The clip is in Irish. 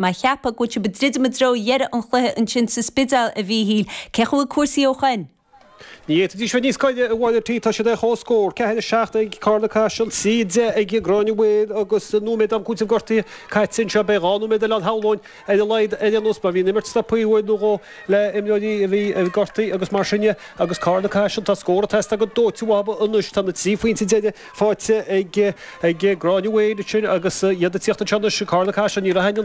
Mé ag ceapadh go bhfuil sibh ag druidim i dtreo dheireadh an chluiche ansin sa Spidéal, a Mhíchíl. Cén chaoi a bhfuil cúrsaí ó shoin? Ní fhéadfaidís bheith níos gaire, a Mháire. Tá siad ar comhscór, 4, 7 ag Carna Caiseal, 3, 10 ag Gráinne Mhaol agus nóiméad am cúitimh gortaithe caite anseo. Beidh 2 nóiméad eile ann shamhlóinn ar a laghad ar aon nós mar bhí an imirt stoptha uair nó dhó le imreoirí a bhí gortaithe agus mar sin de agus Carna Caiseal, tá scór ag teastáil go dóite uathu anois. Tá na 3 phointe deiridh faighte ag Gráinne Mhaol ansin agus iad ag tíocht anseo anois, Carna Caiseal, ní raibh aon.